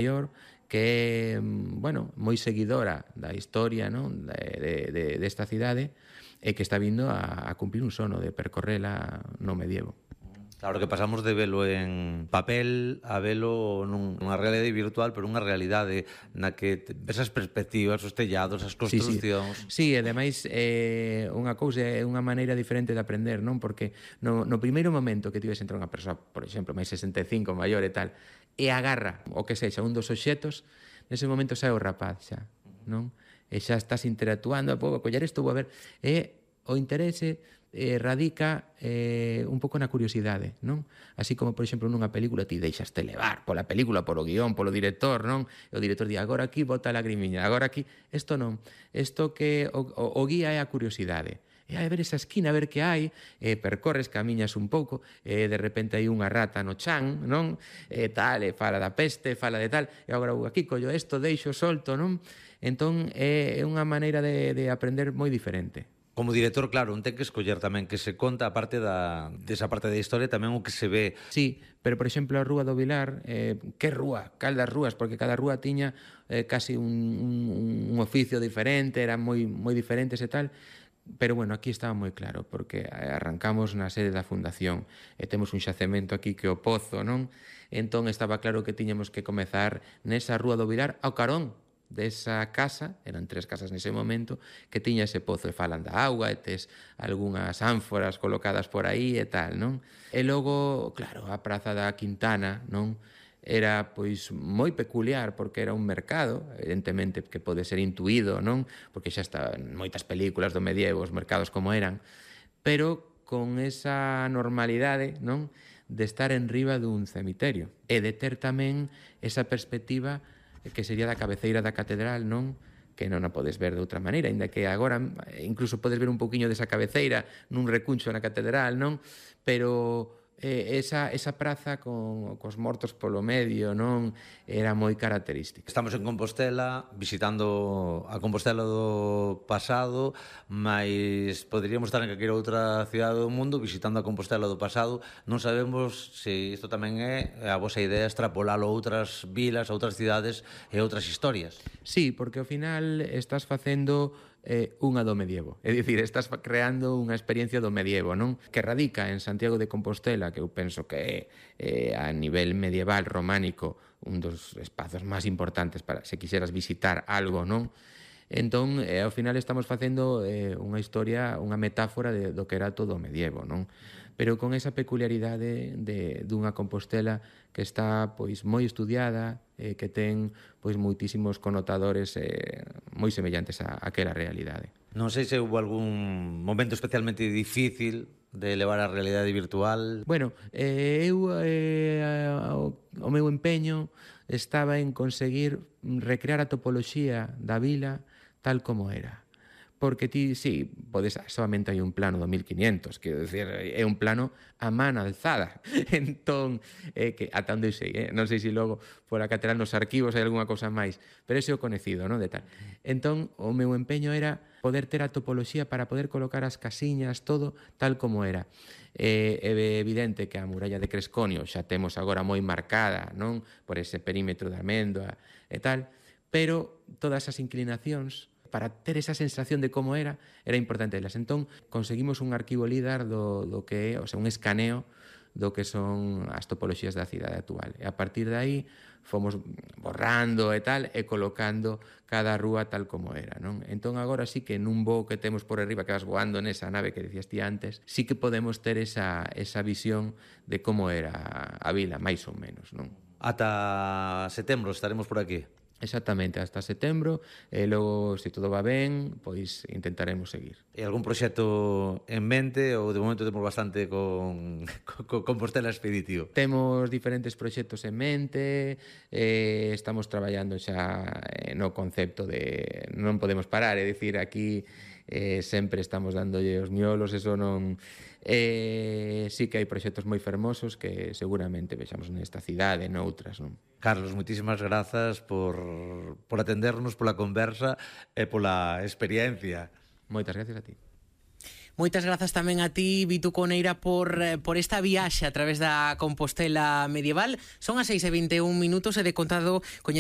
maior que é, bueno, moi seguidora da historia, non? Desta cidade e que está vindo a cumplir un sono de percorrela no medievo. Claro que pasamos de velo en papel a velo nunha realidade virtual, pero unha realidade na que ves as perspectivas, os tellados, as construccións. Sí, e ademais unha cousa é unha maneira diferente de aprender, non? Porque no primeiro momento que tives entre unha persoa, por exemplo, máis 65, maior e tal, e agarra o que sexa un dos obxetos, nese momento sae o rapaz xa, non? E xa estás interactuando, vou coller isto, vou a ver, e o interese radica un pouco na curiosidade, non? Así como, por exemplo, nunha película ti deixaste levar pola película, polo guión, polo director, non? E o director di, agora aquí bota a lagrimiña, agora aquí... Isto non. Isto que o guía é a curiosidade. E hai ver esa esquina, a ver que hai, percorres, camiñas un pouco, e de repente hai unha rata no chan, non? E tal, e fala da peste, fala de tal, e agora aquí collo isto, deixo, solto, non? Entón, é unha maneira de aprender moi diferente. Como director, claro, un ten que escoller tamén que se conta a parte desa parte da historia tamén o que se ve. Sí, pero por exemplo a Rúa do Vilar, que rúa? Cal das rúas? Porque cada rúa tiña casi un oficio diferente, eran moi diferentes e tal, pero bueno, aquí estaba moi claro, porque arrancamos na sede da fundación e temos un xacemento aquí que é o Pozo, non? Entón estaba claro que tiñamos que comezar nesa Rúa do Vilar ao carón desa casa, eran 3 casas nese momento, que tiña ese pozo e falan da auga e tes algunhas ánforas colocadas por aí e tal, non? E logo, claro, a Praza da Quintana, non? Era, pois, moi peculiar porque era un mercado, evidentemente que pode ser intuído, non? Porque xa está en moitas películas do medievo, os mercados como eran, pero con esa normalidade, non? De estar en riba dun cemiterio e de ter tamén esa perspectiva que sería da cabeceira da catedral, non? Que non a podes ver de outra maneira, ainda que agora incluso podes ver un pouquiño desa cabeceira nun recuncho na catedral, non? Pero esa praza cos mortos polo medio, non? Era moi característica. Estamos en Compostela, visitando a Compostela do pasado, mas poderíamos estar en calquera outra cidade do mundo visitando a Compostela do pasado. Non sabemos se isto tamén é a vosa idea extrapolalo a outras vilas, a outras cidades e outras historias. Sí, porque ao final estás facendo unha do medievo. É dicir, estás creando unha experiencia do medievo, non? Que radica en Santiago de Compostela, que eu penso que é a nivel medieval románico un dos espazos máis importantes para se quixeras visitar algo, non? Entón, ao final estamos facendo unha historia, unha metáfora do que era todo o medievo, non? Pero con esa peculiaridade dunha Compostela que está pois moi estudiada, que ten pois moitísimos connotadores moi semellantes a aquela realidade. Non sei se houve algún momento especialmente difícil de levar a realidade virtual. Bueno, eu o meu empeño estaba en conseguir recrear a topoloxía da vila tal como era. Porque ti, sí, podes, solamente hai un plano do 1500, quero dicir, é un plano a man alzada. Entón, que ata onde sei, non sei se logo por a catedral nos arquivos hai algunha cousa máis, pero ese é o conecido, non, de tal. Entón, o meu empeño era poder ter a topoloxía para poder colocar as casiñas, todo tal como era. É evidente que a muralla de Cresconio xa temos agora moi marcada, non, por ese perímetro de Amendoa e tal, pero todas as inclinacións para ter esa sensación de como era importante elas. Entón, conseguimos un arquivo LIDAR do que é, o sea, un escaneo do que son as topoloxías da cidade actual. E a partir de aí fomos borrando e tal, e colocando cada rúa tal como era, non? Entón, agora sí que nun voo que temos por arriba, que vas voando nesa nave que decías ti antes, sí que podemos ter esa visión de como era a vila, máis ou menos, non? Ata setembro estaremos por aquí. Exactamente, hasta setembro, e logo, se todo va ben, pois intentaremos seguir. E algún proxecto en mente ou de momento temos bastante con Compostela Expeditivo? Temos diferentes proxectos en mente, estamos traballando xa no concepto de non podemos parar, é dicir, aquí sempre estamos dándolle os miolos, eso non... sí que hai proxectos moi fermosos que seguramente vexamos nesta cidade e noutras, non? Carlos, moitísimas grazas por atendernos, pola conversa e pola experiencia. Moitas gracias a ti. Moitas grazas tamén a ti, Vitu Coneira, por esta viaxe a través da Compostela medieval. Son as 6:21 e de contado